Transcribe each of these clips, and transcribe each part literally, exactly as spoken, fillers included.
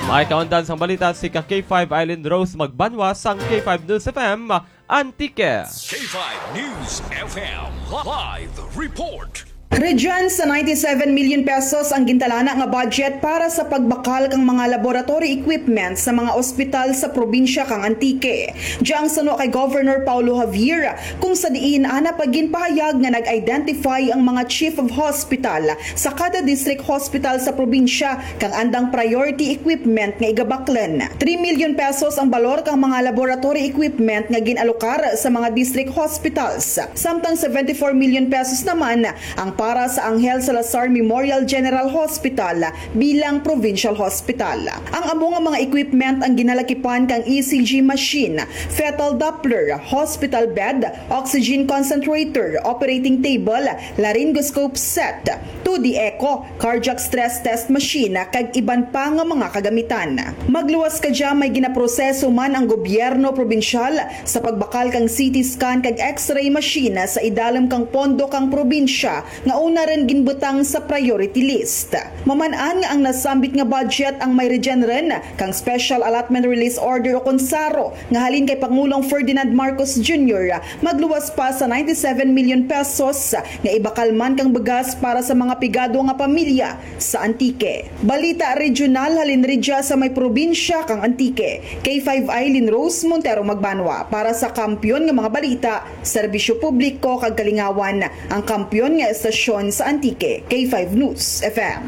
May kaundan sang balita si ka K five Eileen Rose Magbanwa sang K five News F M Antique. K five News F M live report. Region sa ninety-seven million pesos ang gintalana nga budget para sa pagbakal kang mga laboratory equipment sa mga ospital sa probinsya kang Antique. Dya ang suno kay Governor Paulo Javier, kung sa diin ana pa ginpahayag nga nag-identify ang mga chief of hospital sa kada district hospital sa probinsya kang andang priority equipment nga igabaklan. Three million pesos ang balor kang mga laboratory equipment nga gin-alokar sa mga district hospitals, samtang seventy-four million pesos naman ang para sa Angel Salazar Memorial General Hospital bilang provincial hospital. Ang amo nga mga equipment ang ginalakipan kang E C G machine, fetal Doppler, hospital bed, oxygen concentrator, operating table, laryngoscope set, two D echo, cardiac stress test machine, kag iban pa nga mga kagamitan. Magluwas ka dya, may ginaproseso man ang gobyerno probinsyal sa pagbakal kang C T scan kag X-ray machine sa idalom kang pondo kang probinsya nga una rin ginbutang sa priority list. Maman-an nga ang nasambit nga budget ang may regenren kang Special Allotment Release Order o kon saro nga halin kay Pangulong Ferdinand Marcos Junior, magluwas pa sa ninety-seven million pesos nga ibakal man kang bugas para sa mga pigado nga pamilya sa Antique. Balita regional halin ridya sa may probinsya kang Antique. K five Eileen Rose Montero Magbanwa para sa Kampiyon nga mga balita, serbisyo publiko kag kalingawan, ang kampiyon nga estasyon sa Antique, K five News F M.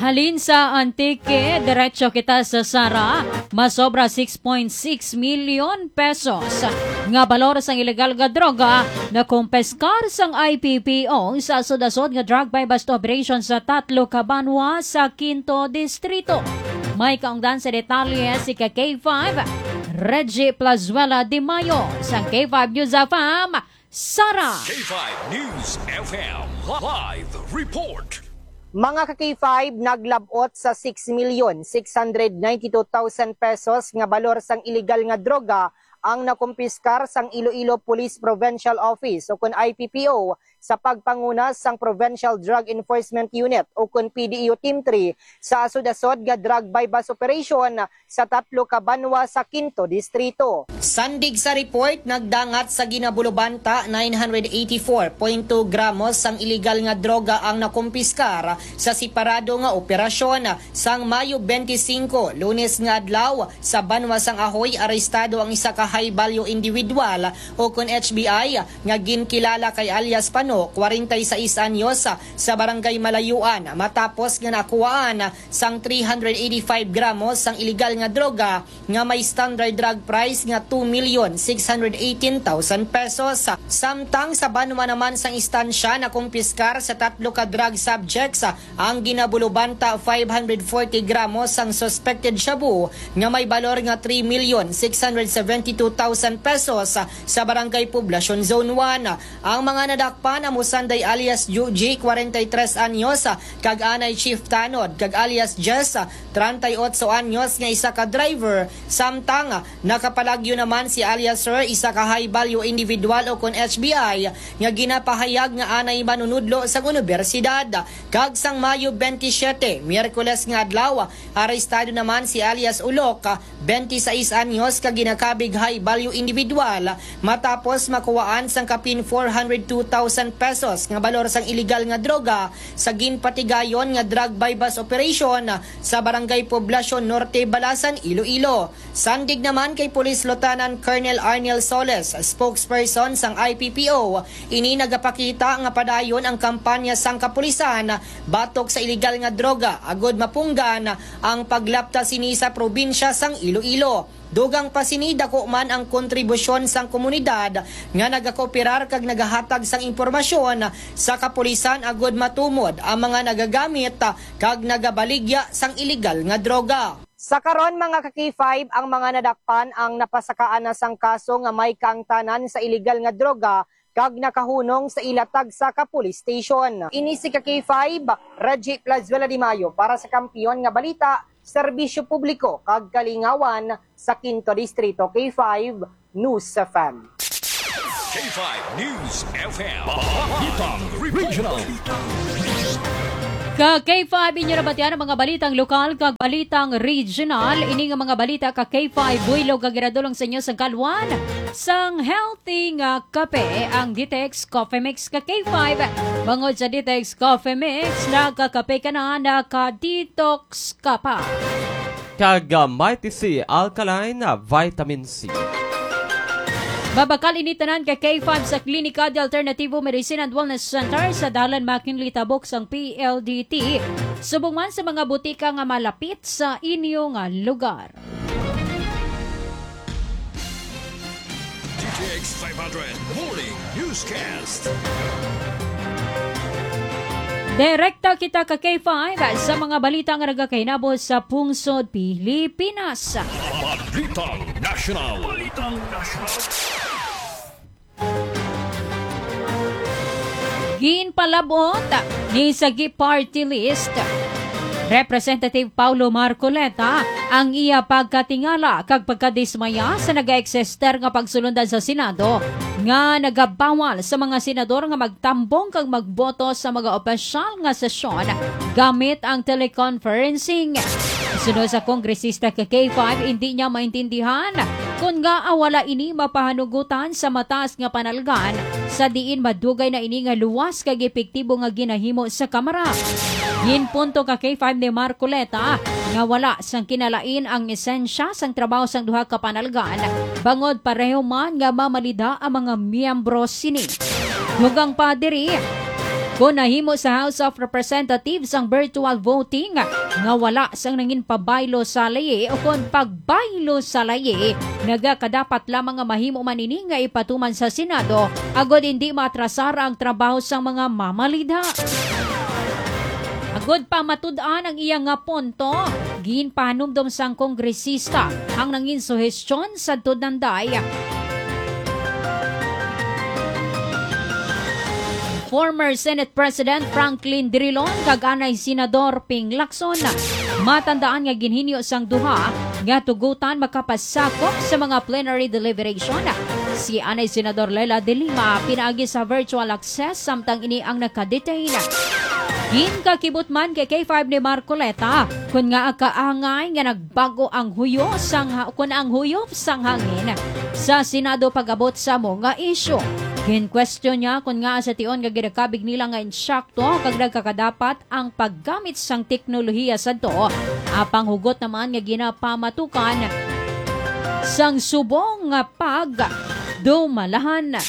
Halin sa Antique, diretso kita sa Sara. Masobra six point six million pesos nga balor sang ilegal nga droga nakumpiskar sang I P P O sa asod-asod nga drug buy-bust operation sa tatlo ka banwa sa Quinto Distrito. May kaungdan sa detalye si ka K five, Reggie Plazuela de Mayo, sang K five News F M, Sara. K five News F M live report. Mga ka K five, naglab-ot sa six million six hundred ninety-two thousand pesos nga balor sang iligal nga droga ang nakumpiskar sang Iloilo Police Provincial Office, o kun I P P O, sa pagpanguna sang Provincial Drug Enforcement Unit, o kun P D E O Team three, sa asod-asod nga drug buy-bust operation sa tatlo ka banwa sa Quinto Distrito. Sandig sa report, nagdangat sa ginabulubanta nine hundred eighty-four point two gramos sang iligal nga droga ang nakumpiskar sa separado nga operasyon. Sang Mayo twenty-five, Lunes nga adlaw, sa banwa sang Ahoy, arestado ang isa ka high value individual, o kun H B I, nga ginkilala kay alias Pano, kwarenta y seis anyos, sa Barangay Malayuan, matapos nga nakuhaan sang three hundred eighty-five gramos sang iligal nga droga nga may standard drug price nga two million six hundred eighteen thousand pesos. Samtang sa banwa naman sang istansya, nakumpiskar sa tatlo ka drug subjects ang ginabulubanta five hundred forty gramos sang suspected shabu nga may balor nga three million six hundred seventy-two thousand pesos sa Barangay Poblacion Zone one. Ang mga nadakpan amo sanday alias Juji, kwarenta y tres anyos, kag anay Chief Tanod, kag alias Jess, treinta y ocho anyos, nga isa ka driver, samtang nakapalagyo naman si alias Sir, isa ka high value individual o kon H B I, nga ginapahayag nga anay manunudlo sang unibersidad. Kag sang Mayo twenty-seven, Miyerkules nga adlaw, arestado naman si alias Ulok, twenty-seis anyos, ka ginakabig high value individual, matapos makuhaan sang kapin four hundred two thousand pesos nga balor sang iligal nga droga sa ginpatigayon nga drug buy-bust operation sa Barangay Poblacion Norte, Balasan, Iloilo. Sandig naman kay Police Lieutenant Colonel Arnel Soles, spokesperson sang I P P O, ini nagapakita nga padayon ang kampanya sang kapulisan batok sa iligal nga droga, agud mapunggan ang paglapta sini sa probinsya sang Iloilo. Dugang pa sini, dako man ang kontribusyon sang komunidad nga nagakooperar kag nagahatag sang impormasyon sa kapulisan agud matumod ang mga nagagamit kag nagabaligya sang iligal nga droga. Sa karon, mga ka-K five, ang mga nadakpan ang napasakaan na sang kaso nga may kaangtanan sa iligal nga droga kag nakahunong sa ila tagsa ka police station. Ini si ka-K five, Reggie Plazuela de Mayo para sa Kampiyon nga Balita, Serbisyo Publiko kag Kalingawan sa Quinto Distrito, K five News F M. K five News F M. Balitang Regional. Ka K five, inyo nabatian ang mga balitang lokal kag balitang regional. Ini nga mga balita ka K five, buylog nga ginadulong sa inyo sang kalwan sang healthy nga kape, ang Detox Coffee Mix ka K five. Bangod sa Detox Coffee Mix, nakakape ka na, naka-detox ka pa. Kag, ah, Mighty C Alkaline, ah, Vitamin C. Mabakal ini tanan ka K five sa Klinika de Alternativo Medicine and Wellness Center sa Dalan McKinley, Tabok sang P L D T, subong man sa mga butika nga malapit sa inyo nga lugar. D T X five hundred Morning Newscast. Direkta kita ka K five sa mga balita nga nagakahinabo sa pungsod Pilipinas. Balitang National. Balitang National. Ginpalabot ni Sagi Party List Representative Paulo Marcoleta ang iya pagkatingala kag pagkadismaya sa nagaeksister nga pagsulundan sa Senado nga nagabawal sa mga senador nga magtambong kag magboto sa mga opisyal nga sesyon gamit ang teleconferencing. Suno sa kongresista ka K five, hindi niya maintindihan kon ngaa wala ini mapahanugutan sa mataas nga panalgan, sa diin madugay na ini nga luwas kag epektibo nga ginahimo sa Kamara. Ginpunto ka K five ni Marcoleta nga wala sang kinalain ang esensya sang trabaho sang duha ka panalgan, bangod pareho man nga mamalida ang mga miyembro sini. Dugang pa diri, kon nahimo sa House of Representatives ang virtual voting nga wala sang nangin pabaylo sa layi o kon pagbaylo sa layi, nagakadapat lamang nga mahimo man ini nga ipatuman sa Senado agod hindi maatrasar ang trabaho sang mga mamalida. Agod pa matud-an ang iya nga punto, ginpahanumdom sang kongresista ang nangin suhestyon sa Tudanday. Former Senate President Franklin Drilon kag anay Senador Ping Lacson, matandaan nga ginhinyo sang duha nga tugutan makapasakop sa mga plenary deliberation. Si anay Senador Leila de Lima pinaagi sa virtual access, samtang ini ang nakadetain. Ginkakibot man kay K five ni Marcoleta kon ngaa kaangay nga nagbago ang huyo sang ha-, kon ang huyop sang hangin sa Senado pag-abot sa amo nga isyu. Gin-question niya kon ngaa sa tion nga ginakabig nila nga insakto kag nagkakadapat ang paggamit sang teknolohiya sadto, apang hugot naman nga ginapamatukan sang subong nga pagdumalahan.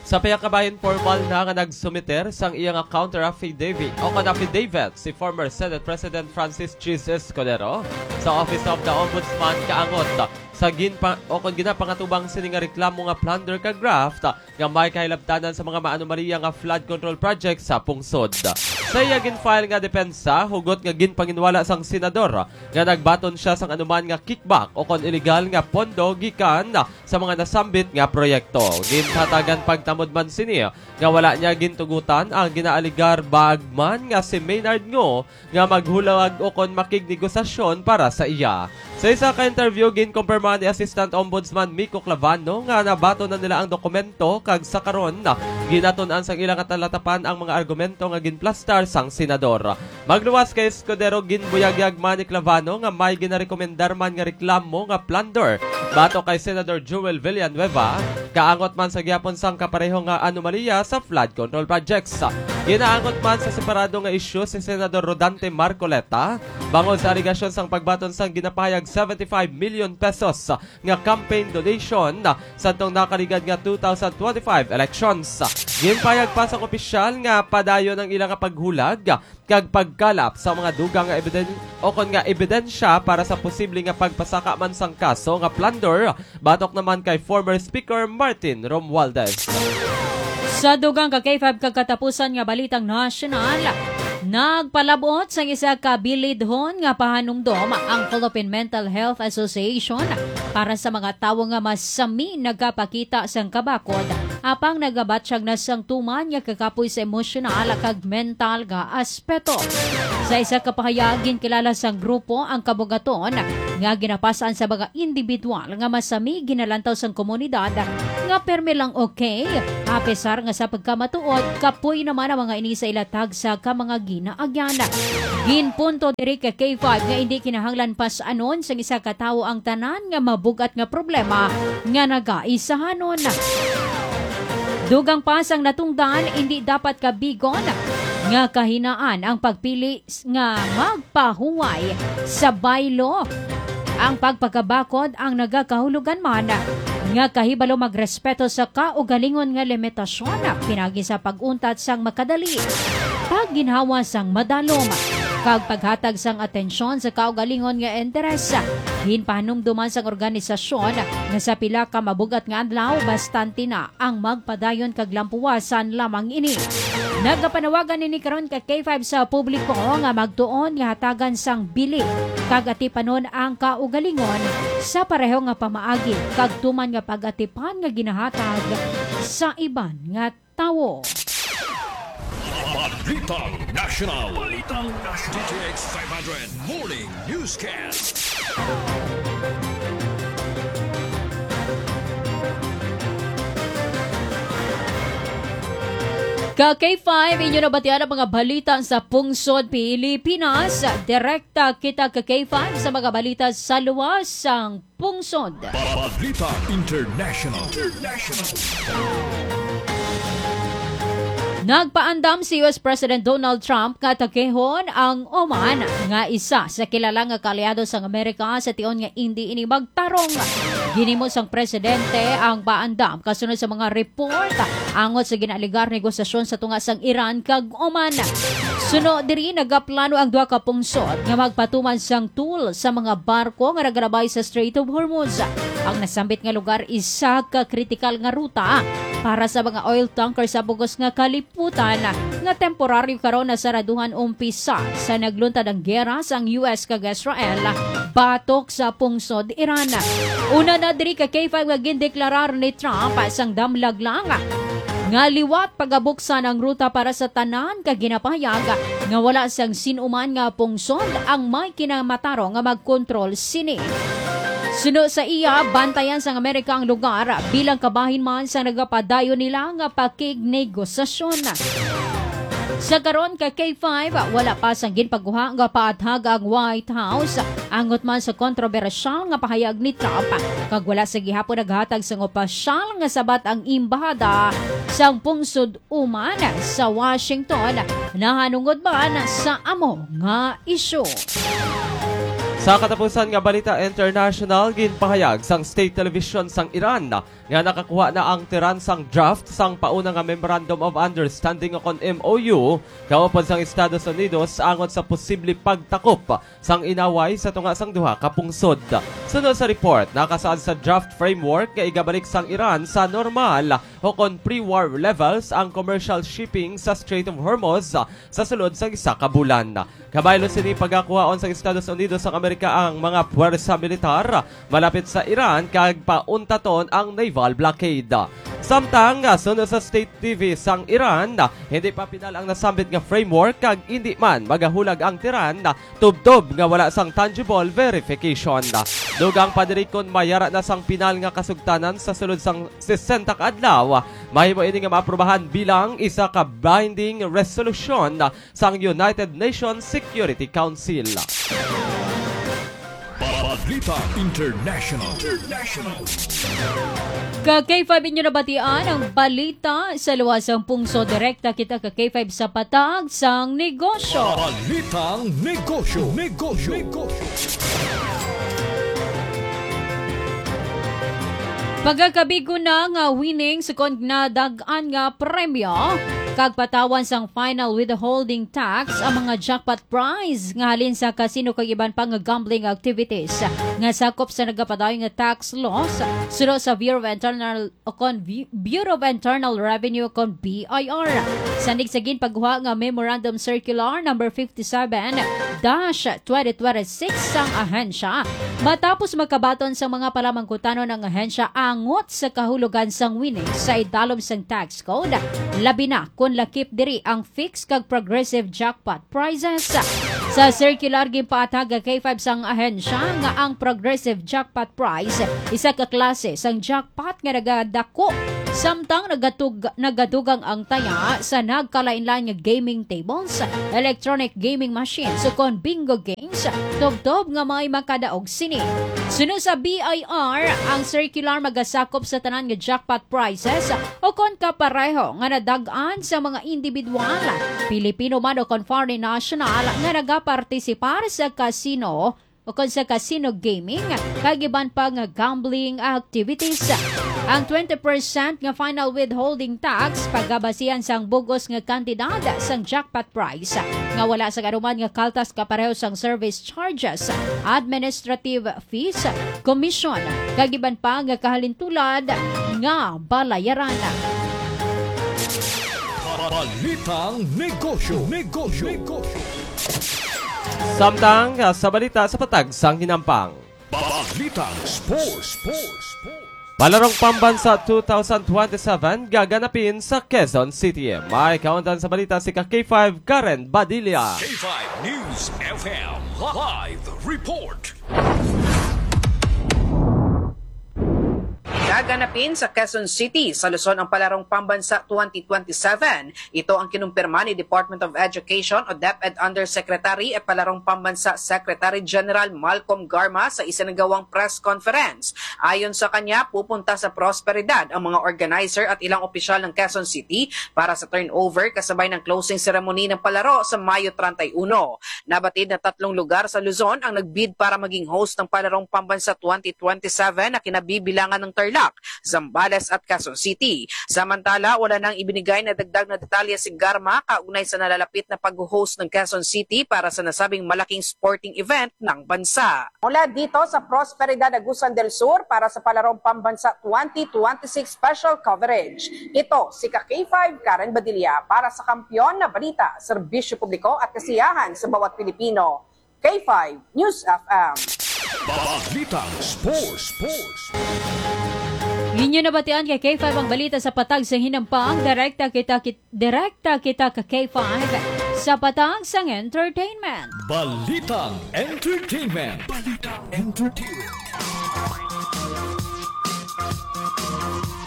Sa pihak ka bahin, formal na nga nagsumiter sang iya nga counter affidavit o kon affidavit si former Senate President Francis Chiz Escudero sa Office of the Ombudsman kaangot sa ginpa-, o kon ginapangatubang sini nga reklamo nga plunder ka graft nga may kahilabtanan sa mga maanomalya nga flood control project sa pungsod. Sa iya gin-file nga depensa, hugot nga ginpanginwala sang senador nga nagbaton sia sang anuman nga kickback o kon iligal nga pondo gikan sa mga nasambit nga proyekto. Gintatagan pagtamod man sini nga wala niya gintugutan ang ginaaligar bagman nga si Maynard Ngo nga maghulag o kon makignegosasyon para sa iya. Sa isa ka interview, ginkumpirma ni Assistant Ombudsman Miko Clavano nga nabaton na nila ang dokumento kag sa karon, ginatun-an sang ila nga talatapan ang mga argumento nga ginplastar sang senador. Magluwas kay Escudero, ginbuyagyag man ni Clavano nga may ginarekomendar man nga reklamo nga plunder batok kay Senador Joel Villanueva, kaangot man sa gihapon sang kapareho nga anomalya sa flood control projects. Ginaangot man sa separado nga isyu si Senador Rodante Marcoleta bangod sa alegasyon sang pagbaton sang ginapahayag seventy-five million pesos nga campaign donation sadtong nakaligad nga two thousand twenty-five elections. Ginpahayag pa sang opisyal nga padayon ang ila nga paghulag kag pagkalap sa mga dugang nga ebiden-, o kon nga ebidensya para sa posible nga pagpasaka man sang kaso nga plunder batok naman kay former Speaker Martin Romualdez. Sa dugang ka K five kag katapusan nga balitang nasyonal, nagpalabot sang isa ka bilidhon nga pahanumdom ang Philippine Mental Health Association para sa mga tawo nga masami nagapakita sang kabakod, apang nagabatyag na sang tuman nga kakapoy sa emosyonal kag mental nga aspeto. Sa isa ka pahayag, ginkilala sang grupo ang kabugaton nga ginapas-an sa mga individual nga masami ginalantaw sang komunidad nga permi lang okay, apesar nga sa pagkamatuod, kapoy naman ang mga ini sa ila tagsa ka mga ginaagyan. Ginpunto diri ka K five nga indi kinahanglan pas-anon sang isa ka tawo ang tanan nga mabugat nga problema nga nagaisahanon. Dugang pa sang natungdan, indi dapat kabigon nga kahinaan ang pagpili s-, nga magpahuway sa baylo. Ang pagpakabakod ang nagakahulogan man nga kahibalo magrespeto sa kaugalingon nga limitasyon, pinagi sa pag-untat sang makadali, pagginhawa sang madalom, kag paghatag sang atensyon sa kaugalingon nga interes. Ginpahanumduman sang organisasyon nga sa pila ka mabugat nga adlaw, bastante na ang magpadayon kag lampuwasan lamang ini. Nagapanawagan ini karon ka K five sa publiko nga magtuon nga hatagan sang bili kag atipanon ang kaugalingon sa pareho nga pamaagi kag tuman nga pag-atipan nga ginahatag sa iban nga tawo. Balitang National. Balitang National. D T X five hundred Morning Newscast. Ka K five, inyo nabatian ang mga balita sa pungsod Pilipinas. Direkta kita ka K five sa mga balita sa luwas sang pungsod. Balita International. International. Nagpaandam si U S President Donald Trump nga atakehon ang Oman, nga isa sa kilala nga kaalyado sang Amerika, sa tion nga indi ini magtarong. Ginhimo sang presidente ang paandam kasunod sa mga report angot sa ginaaligar negosasyon sa tunga sang Iran kag Oman. Suno diri, nagaplano ang duha ka pungsod nga magpatuman sang toll sa mga barko nga nagalabay sa Strait of Hormuz. Ang nasambit nga lugar isa ka kritikal nga ruta para sa mga oil tanker sa bug-os nga kalibutan, nga temporaryo karon nasaraduhan umpisa sa nagluntad ang giyera sang U S kag Israel batok sa pungsod Iran. Una na diri ka K five nga gindeklarar ni Trump sang damlag lang nga liwat pagabuksan ang ruta para sa tanan ka ginapahayag nga wala sang sin-uman nga pungsod ang may kinamatarong nga magkontrol sini. Suno sa iya, bantayan sang Amerika ang lugar bilang kabahin man sa nagapadayon nila nga pakignegosasyon. Sa karon ka K five, wala pa sang ginpaguha nga paathag ang White House angot man sa kontrobersyal nga pahayag ni Trump, kag wala sa gihapon naghatag sang opisyal nga sabat ang embahada sang pungsod Oman sa Washington nahanungod man sa amo nga isyu. Sa katapusan nga balita international, ginpahayag sang state television sang Iran nga nakakuha na ang Tehran sang draft sang pauna nga Memorandum of Understanding o kon M O U kaupod sang Estados Unidos angot sa posible pagtakop sang inaway sa tunga sang duha ka pungsod. Suno sa report, nakasaad sa draft framework nga igabalik sang Iran sa normal o kon pre-war levels ang commercial shipping sa Strait of Hormuz sa sulod sang isa ka bulan. Kabaylo sini, pagakuhaon sang Estados Unidos sang Amerika ang mga puwersa militar malapit sa Iran kag pauntaton ang naval blockade. Samtang, suno sa state T V sang Iran, hindi pa pinal ang nasambit nga framework kag hindi man magahulag ang Tehran tubtob nga wala sang tangible verification. Dugang pa diri, kon mayara na sang pinal nga kasugtanan sa sulod sang sesenta ka adlaw, mahimo ini nga maaprubahan bilang isa ka binding resolution sang United Nations Security Council. Balita International. International. Ka K five, inyo nabatian ang balita sa luwas sang pungsod. Direkta kita ka K five sa patag sang negosyo. Balitang negosyo. Negosyo. Negosyo. Pagkakabigo na nga winnings kon nadag-an nga premyo kag patawan sang final withholding tax ang mga jackpot prize nga halin sa casino kag iban pa nga gambling activities nga sakop sa nagapadayon nga tax laws, suno sa Bureau of Internal o kon Bu-, Bureau of Internal Revenue o kon B I R. Sandig sa ginpagguha nga Memorandum Circular number fifty-seven dash twenty twenty-six sang ahensya, matapos makabaton sa mga palamangkutanon ang ahensya angot sa kahulogan sang winnings sa idalom sang tax code, labi na kon lakip diri ang fixed kag progressive jackpot prizes. Sa circular, ginpaathag ang K five sang ahensya nga ang progressive jackpot prize isa ka klase sang jackpot nga nagadako samtang nagatug-, nagadugang ang taya sa nagkalainlain nga gaming tables, electronic gaming machines, ukon bingo games, tubtob nga may makadaog sini. Suno sa B I R, ang circular magasakop sa tanan nga jackpot prizes ukon kapareho nga nadag-an sa mga individual, Pilipino man ukon foreign national, nga nagapartisipar sa casino ukon sa casino gaming kag iban pa nga gambling activities. Ang twenty percent nga final withholding tax pagabasihan sang bug-os nga kantidad sang jackpot prize nga wala sang anuman nga kaltas kapareho sang service charges, administrative fees, commission, kag iban pa nga kahalintulad nga balayaran. Balitang Negosyo. Negosyo. Negosyo. Samtang, ah, sa balita sa patag sang hinampang. Balitang Sports. Sports. Palarong Pambansa two thousand twenty-seven gaganapin sa Quezon City. May kaundan sa balita si ka K five Karen Badilla. K five News F M live report. Gaganapin sa Quezon City, sa Luzon ang Palarong Pambansa twenty twenty-seven. Ito ang kinumpirma ni Department of Education o DepEd Undersecretary at Palarong Pambansa Secretary General Malcolm Garma sa isinagawang press conference. Ayon sa kanya, pupunta sa Prosperidad ang mga organizer at ilang opisyal ng Quezon City para sa turnover kasabay ng closing ceremony ng palaro sa Mayo treinta y uno. Nabatid na tatlong lugar sa Luzon ang nagbid para maging host ng Palarong Pambansa twenty twenty-seven na kinabibilangan ng Tarlac, Zambales at Quezon City. Samantala, wala nang ibinigay na dagdag na detalye si Garma kaugnay sa nalalapit na pag-host ng Quezon City para sa nasabing malaking sporting event ng bansa. Mula dito sa Prosperidad, Agusan del Sur para sa Palarong Pambansa twenty twenty-six Special Coverage. Ito si ka K five Karen Badilla para sa Kampiyon na Balita, Serbisyo Publiko at Kasiyahan sa Bawat Pilipino. K five News F M. Balitang Sports. Sports. Inyo nabatian kay K five ang balita sa patag sa hinampang. Direkta kita, kit-, direkta kita ka K five sa patag sang entertainment. Balitang Entertainment. Balitang Entertainment.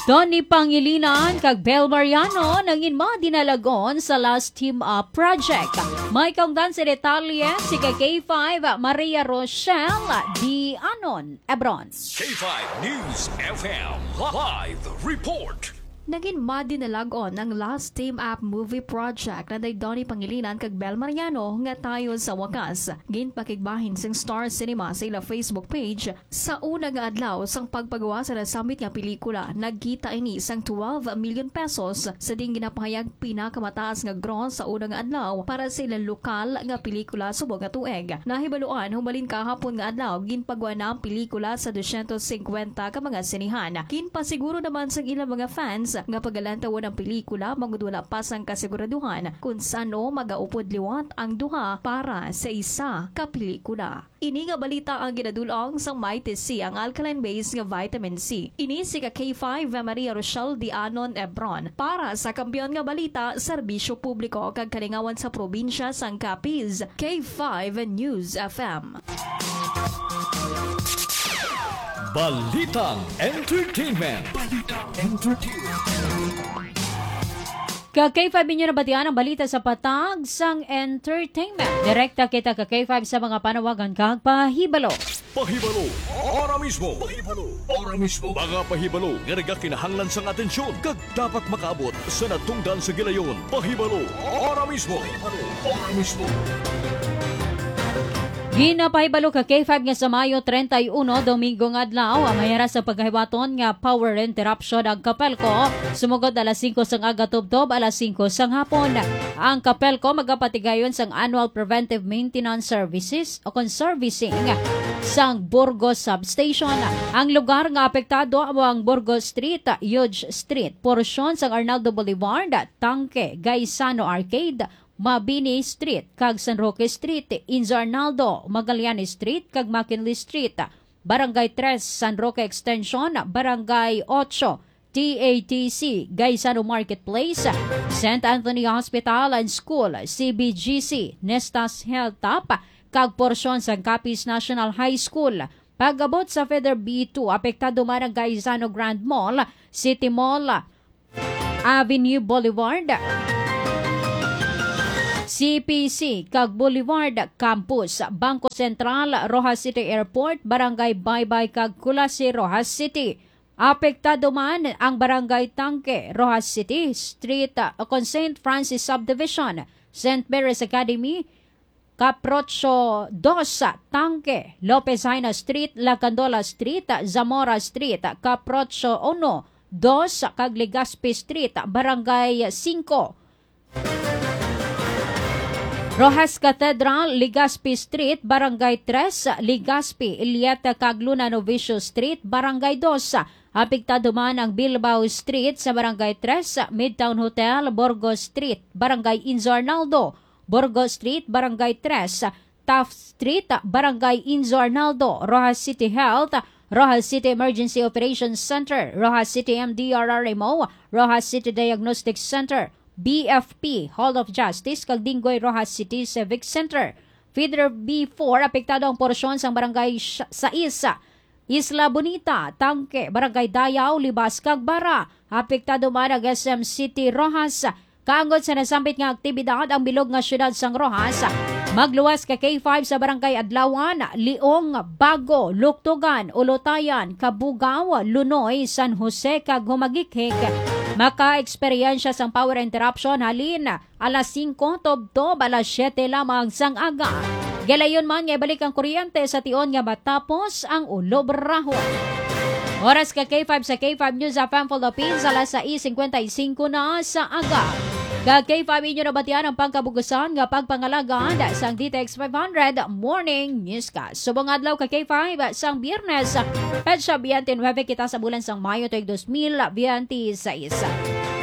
Donnie Pangilinan kag Bel Mariano nangin madinalagon sa Last Team Up Project. May kaungdan sa detalye si ka K five Maria Rochelle Dianon Ebron. K five News F M live report. Nagin madinalagon ang Last Team Up Movie Project na day Donnie Pangilinan kag Bel Mariano nga tayon sa wakas ginpakigbahin sang Star Cinema sa ila Facebook page. Sa una nga adlaw sang pagpagawa sa nasambit nga pelikula, nagkita ini sang twelve million pesos sa diin ginapahayag pinakamataas nga gross sa una nga adlaw para sa ilang lokal nga pelikula subong nga tuig. Nahibaluan, humalin kahapon nga adlaw, ginpagwa na ang pelikula sa dosyentos singkwenta ka mga sinehan. Ginpasiguro naman sang ilang mga fans nga pagalantawon ang pelikula bangod wala pa sang kasiguraduhan kon san-o magaupod liwat ang duha para sa isa ka pelikula. Ini nga balita ang ginadul-ong sang Mighty C, ang alkaline base nga vitamin C. Ini si ka K five Maria Rochelle Dianon Ebron para sa Kampiyon nga Balita, Serbisyo Publiko kag Kalingawan sa Probinsya sang Capiz, K five News F M. Balitang Entertainment. Balitang Entertainment. Ka K five, inyo nabatian ang balita sa patag sang entertainment. Direkta kita ka K five sa mga panawagan kag pahibalo. Pahibalo, ora mismo. Pahibalo, ora mismo. Mga pahibalo nga nagakinahanglan sang atensyon kag dapat makaabot sa natungdan sa gilayon. Pahibalo, ora mismo. Pahibalo, ora mismo. Ginapahibalo ka K five nga sa Mayo treinta y uno, Domingo nga adlaw, ang mahira sa pagkahiwaton nga power interruption ang Kapelco, sumugod alas singko sang aga tubtob alas singko sang hapon. Ang Kapelco magapatigayon sang annual preventive maintenance services o kon servicing sang Burgos Substation. Ang lugar nga apektado amo ang Burgos Street, Huge Street, porsyon sang Arnaldo Boulevard, Tangke, Gaisano Arcade, Mabini Street kag San Roque Street, Inzo Arnaldo, Magallanes Street kag McKinley Street, Barangay Tres, San Roque Extension, Barangay Ocho, T A T C, Gaisano Marketplace, Saint Anthony Hospital and School, C B G C, Nestas Hilltop, kag porsyon sang Capiz National High School. Pag-abot sa Feather B two, apektado man ang Gaisano Grand Mall, City Mall, Avenue Boulevard, C P C, kag Boulevard Campus, Bangko Sentral, Roxas City Airport, Barangay Baybay, kag Culasi, Roxas City. Apektado man ang Barangay Tanque, Roxas City, Street, uh, kon Saint Francis Subdivision, Saint Mary's Academy, Caprocho dos, Tanque, Lopez Jaena Street, Lacandola Street, Zamora Street, Caprocho uno, dos, kag Legazpi Street, Barangay singko. Roxas Cathedral, Legazpi Street, Barangay tres, Legazpi, Iliete, kag Luna Novicio Street, Barangay dos. Apektado man ang Bilbao Street sa Barangay tres, Midtown Hotel, Burgos Street, Barangay Inzo Arnaldo, Burgos Street, Barangay tres, Taft Street, Barangay Inzo Arnaldo, Roxas City Health, Roxas City Emergency Operations Center, Roxas City M D R R M O, Roxas City Diagnostic Center, B F P, Hall of Justice, kag Dinggoy Roxas City Civic Center. Feeder B four, apektado ang porsyon sang Barangay sh-, sais, Isla Bonita, Tanque, Barangay Dayao, Libas, kag Bara. Apektado man ang S M City Roxas. Kaangod sa nasambit nga aktibidad, ang bilog nga siyudad sang Roxas magluwas ka K five sa Barangay Adlawan, Liong, Bago, Luktugan, Ulutayan, Cabugao, Lunoy, San Jose, kag Humagikhik. Maka-eksperyensya sang power interruption halin alas singko tubtob alas siyete lamang sang aga. Gilayon man nga ibalik ang kuryente sa tion nga matapos ang ulob rahon. Oras ka K five sa K five News F M Philippines, alas sais cincuenta y cinco na sa aga. Ka K five inyo nabatian ang pangkabugusan nga pagpangalagad sang D T X five hundred Morning Newscast. Subong adlaw ka K five sang Biyernes, petsa twenty-nine kita sa bulan sang Mayo tuig dos mil biyente seis.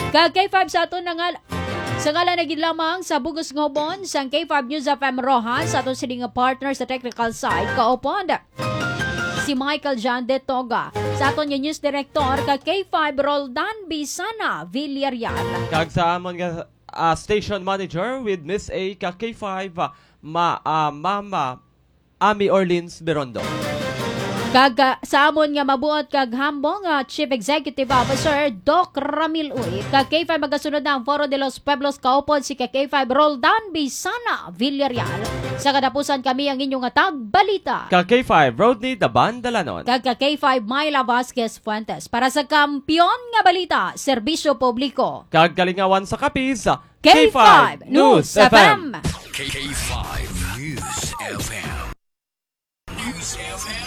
Ka K five sa aton na nga Sa ngalan na gid lamang sa bug-os nga ubon sang K five News F M Roxas, sa aton sini nga partner sa technical side, kaupod si Michael John De Toga, sa aton nga news director ka K five Roldan Bisana Villarreal. Kag sa amon nga, ah, station manager with Miss A ka K five, ah, ma-, ah, Mama Amy Orleans Birondo. Kag, ah, sa amon nga mabuot kag humble nga Chief Executive Officer, Doc Ramil Uy, kag K five magasunod na ang Foro de los Pueblos, kaupod si ka K five Roldan Bisana Villarreal. Sa katapusan, kami ang inyo nga tagbalita. Ka K five, Rodney Daban Dalanon. Kag ka K five, Myla Vasquez Fuentes. Para sa Kampiyon nga Balita, Serbisyo Publiko. Kag kalingawan sa Capiz, K five News F M. K five News F M. News F M.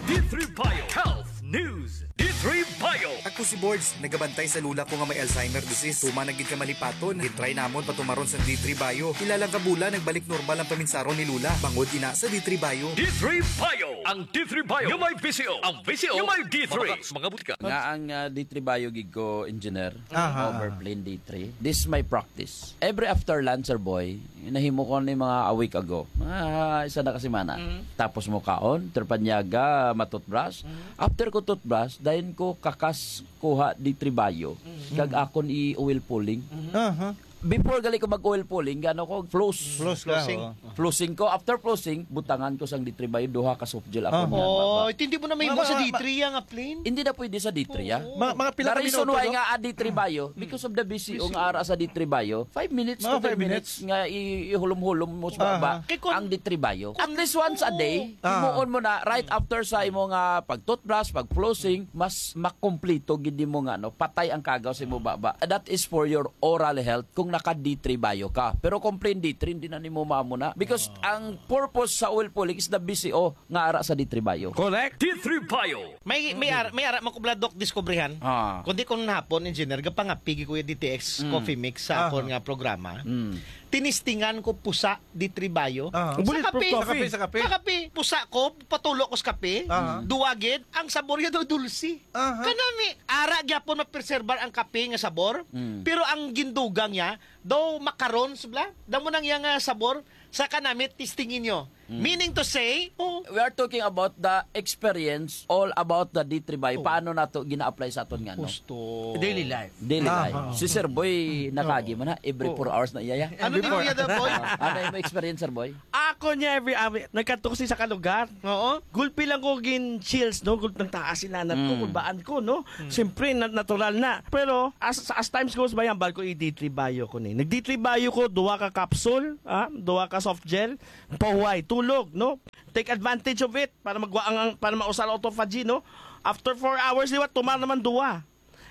D three Bio Health News. D three Bio. Ako si Borge, nagabantay sa lula ko nga may Alzheimer disease. Tuman na gid ka malipaton. Gitry namon patumaron sa D three Bio. Pila lang ka bulan, nagbalik normal ang paminsaron ni lula. Bangod ina sa D three Bio. D three Bio. Ang D three Bio nga may V C O. Ang V C O nga may D three. Mga, mga butika. Nga ang, ah, D three Bio gid ko, engineer. Aha. Over plain D three. This is my practice. Every after lunch, sir boy, nahimo ko ni mga a week ago. Mga isa na ka semana. Mm. Tapos mo kaon, terpanyaga, matutbrush. Mm. After ko toothbrush, dayon ko kakas kuha D three Bio. Mm. Kag akon i-oil pulling. Mm. Aha. Before gali ko mag-oil pulling, gano ko, floss. Floss ka, Flossing. Oo. Flossing ko. After flossing, butangan ko sang D three Bio, duha ka soft gel ako. Ah. Niya, Oh, baba. Hindi mo na may Mga, sa mga, D three yang plain? Hindi na pwede sa D three, ah. Oo. Mga, mga pila The ka reason minuto, why no? nga, ah, D three Bio, Mm. because of the V C O Busy. nga ara sa D three Bio, five minutes Mga to ten five minutes minutes. nga i-, ihulom-hulom mo sa Ah. baba Kay kun ang D three Bio. At least once a day, Oo. Ah. himuon mo na right Mm. after sa imo nga pag-toothbrush, pag-flossing, mas makumplito gid mo nga, no, patay ang kagaw sa imo baba. That is for your oral health kung naka D three Bio ka. Pero kung plain D three, hindi na nimo maamo na. Because Ah. ang purpose sa oil pulling is the V C O nga ara sa D three Bio. Correct. D three Bio. May, may ara, may ara man ko bala, Doc, diskubrihan. Ah. Kundi kung hapon, engineer, gapangapi gid ko yung D T X Mm. Coffee Mix sa Aha. akon nga programa. Mm. Tinistingan ko pusa D three Bio. Aha. Sa Bulletproof kape. Coffee. Sa kape, sa kape. Sa kape, pusa ko, patulo ko sa kape. Aha. Duwa gid, ang sabor niya daw dulce. Aha. Kanami, ara gyapon mapreserbar ang kape nga sabor, Mm. pero ang gindugang niya, daw macaroons bala, daw mo nang iya nga sabor, sa kanami, testingin nyo. Meaning to say, oh, we are talking about the experience, all about the D three Bio. Oh. Paano nato gina-apply sa aton nga, no? Gusto. Daily life. Daily Ah, life. ah. Si Sir Boy, nakagi man ha, every Oo. four hours na iya, ya. Ano Every ni four. Kuya Daboy? Ah, ano yung experience, Sir Boy? Ako niya, every, ah, nagkadto ko sa isa ka lugar. Oo. Gulpi lang ko gin chills, no? Gulpi ng taas, inanat ko, Mm. kulbaan ko, no? Mm. Siyempre, na-, natural na. Pero, as, as times goes by, ang bal ko, i-D three Bio ko ni. Nag-D three Bio ko, duha ka capsule, ah, duha ka soft gel, pahuway, tulog, no? Take advantage of it para magwa ang, ang, para mausal autophagy, no? After four hours, liwat, tumar naman duwa.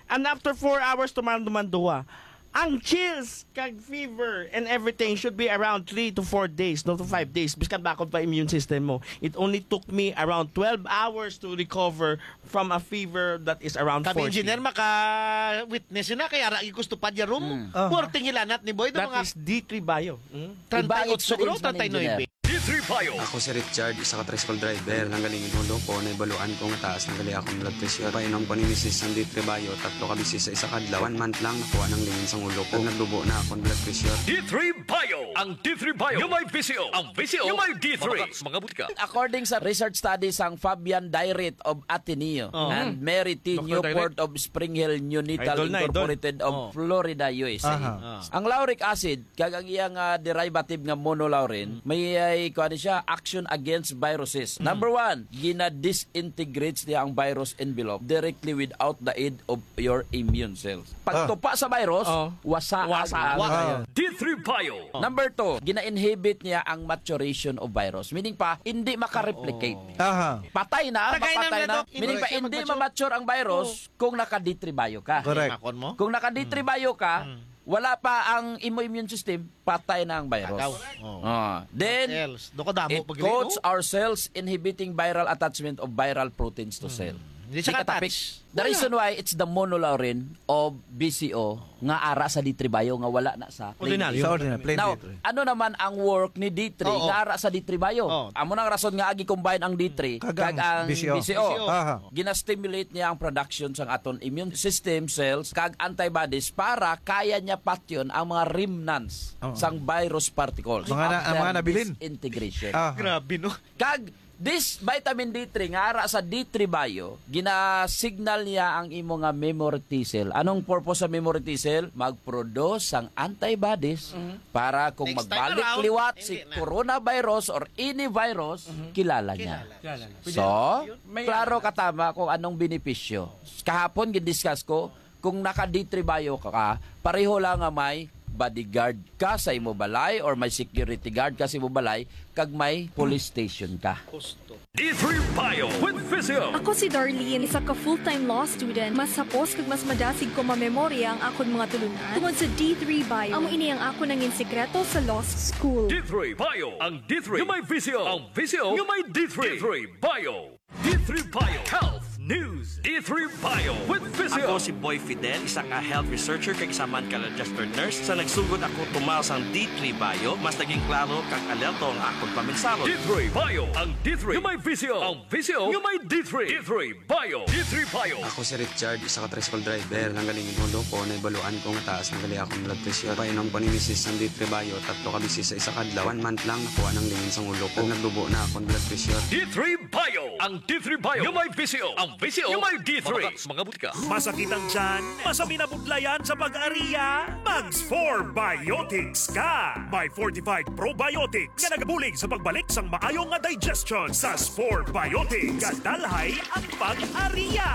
And after four hours, tumar naman duwa. Ang chills, kag fever, and everything should be around three to four days, no, to five days. Biskan bakod pa immune system mo. It only took me around twelve hours to recover from a fever that is around Kami forty. Engineer, maka-witness yun na, kaya ara, gusto pa niya room. Mm. Ah. Forty hilanat ni Boy, That mga is D three Bio. Mm. Iba treinta y ocho siguro, experience man, treinta y nuebe. Engineer. D three Bio. Ako si Richard, isa ka tricycle driver. Nanggaling in ulo ko, naibaluan ko nga taas na gali akong blood pressure. Painom ko ni misis sang D three Bio, tatlo ka beses sa isa ka adlaw. One month lang, nakuha nang lingin sang ulo ko. Nagdubo na akong blood pressure. D three Bio. Ang D three Bio nga may V C O. Ang V C O nga may D three. Mga butika. According sa research study sang Fabian Dairit of Ateneo Oh. and Mary T. Doctor Newport Dairit? of Spring Hill Neonatal Idol na, idol. Incorporated of Oh. Florida, U S A. Aha. Ah. Ang lauric acid, kag ang iyang, ah, derivative nga monolaurin, Mm. may, ay, kuwan siya, action against viruses. Mm. Number one, gina-disintegrates niya ang virus envelope directly without the aid of your immune cells. Ah. Pagtupa sa virus, Oh. wasa Wasa. ang Wa-, Ah. D three Bio. Number two, gina-inhibit niya ang maturation of virus. Meaning pa, hindi makareplicate. Oo. Aha. Patay na, Tagay na mapatay na na, Doc. meaning pa, Hindi hindi ma-mature. ma-mature ang virus Oo. kung naka D three Bio ka. Correct. Makon mo? Kung naka D three Mm. Bio ka, Mm. wala pa ang imo immune system, patay na ang virus. Agaw. Oh. Ah, then, What else? Do ko damo it pag coats Oh. our cells inhibiting viral attachment of viral proteins to Hmm. cell. Hindi siya Di ka ka-attach. tapik. The Wala. reason why it's the monolaurin of V C O nga ara sa D three Bio nga wala na sa plain Ordinaryo. D three. Sa ordinary, plain Now, D three. ano naman ang work ni D three Oo. nga ara sa D three Bio? Oo. Amo nang rason nga agi-combine ang D three Kag kag ang ang V C O. V C O. V C O. Aha. Gina-stimulate niya ang production sang aton immune system cells kag antibodies para kaya niya patyon ang mga remnants Oo. sang virus particles Mga na-, ang mga after nabilin. disintegration. Ah. Grabe, no? Kag this vitamin D three nga ara sa D three Bio, gina-signal niya ang imo nga memory T cell. Anong purpose sa memory T cell? Mag-produce sang antibodies Mhm. para kung Next time magbalik around, liwat si hindi na. coronavirus or any virus, Mhm. kilala niya. Kilala. Kilala na. So, Pwede yun. May klaro ano. katama kung anong benepisyo. Kahapon, gin-discuss ko, kung naka D three Bio ka, pareho lang nga may bodyguard ka sa imo balay or may security guard ka sa imo balay, kag may police station ka. Husto. D three Bio with Physio. Ako si Darlene, isa ka full-time law student. Mas hapos kag mas madasig ko mamemorya ang akon mga tulunan tungod sa D three Bio. Amo ini ang akon nangin sikreto sa law school. D three Bio. Ang D three nga may Physio. Ang Physio nga may D three. D three Bio. D three Bio Health News. D three Bio with Physio. Ako si Boy Fidel, isa ka health researcher kag isa man ka registered nurse. Sa nagsugod ako tumar sang D three Bio, mas naging klaro kag alerto ang akon paminsaro. D three Bio, ang D three nga may Physio. Ang Physio nga may D three. D three Bio. D three Bio. Ako si Richard, isa ka tricycle driver. Nanggaling in ulo ko, naibaluan ko nga taas na gali akong blood pressure. Painom ko ni misis sang D three Bio, tatlo ka beses sa isa ka adlaw. One month lang, nakuha nang lingin sang ulo ko. Nagdubo na akong blood pressure. D three Bio. Ang D three Bio nga may Physio. Ang Physio nga may D three. Mga butika. Masakit ang tiyan? Masabi na budlayan sa pag-ariya? Mag four Biotics ka! May fortified probiotics nga nagabulig sa pagbalik sang maayo nga digestion. Sa Spore Biotics, gadalhay ang pag-ariya.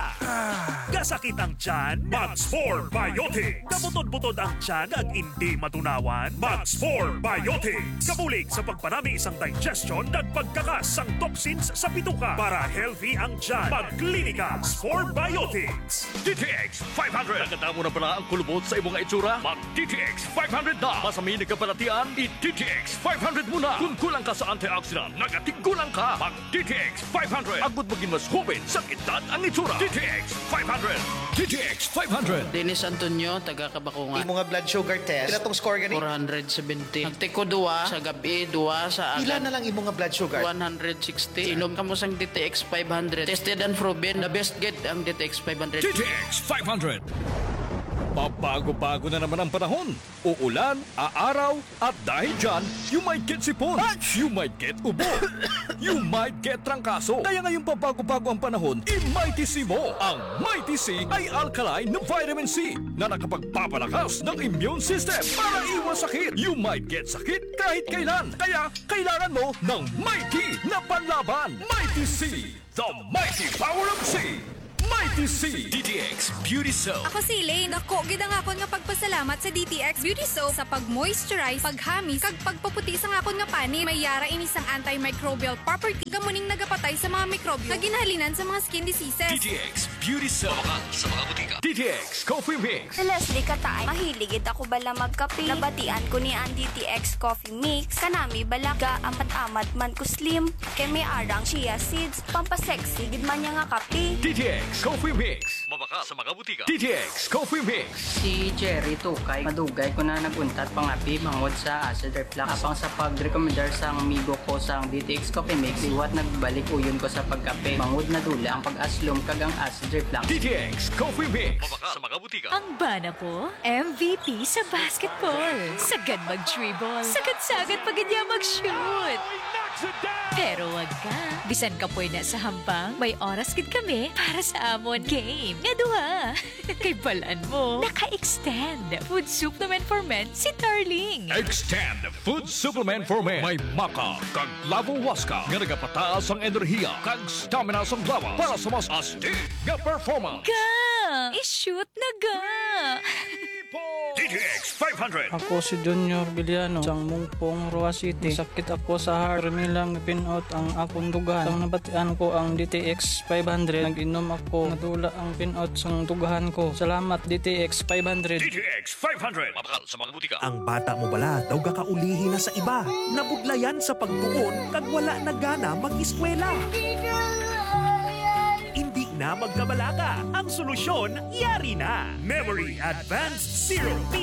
Gasakit ang tiyan? Mag Spore Biotics. Kabutod-butod ang tiyan ag indi matunawan? Mag Spore Biotics. Kabulig sa pagpanami sang digestion kag pagkakas sang toxins sa bituka para healthy ang tiyan. Mag Klinika Spore Biotics. D T X five hundred. Nakadamo na bala ang kulubot sa imo nga itsura? Mag D T X five hundred na. Masami nagkabalatian, i D T X five hundred mo na. Kung kulang ka sa antioxidant, nagatigulang ka. Mag D T X five hundred. Agud maging mas hoben sa edad ang itsura. D T X five hundred. D T X five hundred. Dennis Antonio, taga Kabakungan. Imo nga blood sugar test. Pila tong score gani? Four hundred seventy. Nagtiko duwa sa gabi, duwa sa Pila agad. na lang imo nga blood sugar? One hundred sixty. Inom kamo sang D T X five hundred. Tested and proven. The best gid ang D T X five hundred. D T X five hundred. Pabago-bago na naman ang panahon. Uulan, aaraw, at dahil dyan, you might get sipon. You might get ubo. You might get trangkaso. Kaya ngayong pabago-bago ang panahon, i-Mighty C mo. Ang Mighty C ay alkaline na vitamin C na nakapagpapalakas ng immune system para iwas sakit. You might get sakit kahit kailan. Kaya kailangan mo ng Mighty na panlaban. Mighty C, the mighty power of C. Mighty C. D T X Beauty Soap. Ako si Elaine. Dako gid ang akon nga pagpasalamat sa D T X Beauty Soap sa pag-moisturize, paghamis, kag pagpaputi sang akon nga panit. May yara ini sang antimicrobial property, nga muning nagapatay sa mga mikrobyo nga ginahalinan sa mga skin diseases. D T X Beauty Soap. Mabakal sa mga butika. D T X Coffee Mix. Si Leslie Kataay, mahilig gid ako bala magkape. Nabatian ko ni ang D T X Coffee Mix. Kanami bala ga amat-amat man ko slim. Kay may arang chia seeds, pampasexy gid man niya nga kape. D T X Coffee Mix. Mabakal sa mga butika. D T X Coffee Mix. Si Jerry Tukay, madugay ko na nag-untat pangapi bangod sa acid reflux. Apang sa pag-recommendar sang amigo ko sang D T X Coffee Mix, liwat nagbalik uyon ko sa pagkape. Bangod nadula ang pag-aslom kag ang acid reflux. D T X Coffee Mix. Mabakal sa mga butika. Ang bana ko, M V P sa basketball. Sagad mag-dribble. Sagad-sagad pa gid niya mag-shoot. Pero wag ka. Bisan kapoy na sa hampang, may oras gid kami para sa amon game nga duha. Kay balan mo, naka-extend Food Supplement for Men si Tarling. Extend Food Supplement for Men. May maca kag lavo huasca nga nagapataas ang enerhiya kag stamina sang lawas para sa mas astig nga performance. Ga! I-shoot na ga! D T X five hundred. Ako si Junior Villano, sang Mungpong, Roa City. Sakit ako sa heart. Permi lang pin-out ang akong dughan. Sang nabatian ko ang D T X five hundred, nag-inom ako. Nadula ang pin-out sang dughan ko. Salamat, D T X five hundred. D T X five hundred. Mabakal sa mga butika. Ang bata mo bala daw gakaulihi na sa iba. Nabudlayan sa pagtuon kag wala na gana mag-eskwela. Hindi na magkabalaka. Ang solusyon, yari na. Memory Advanced Syrup P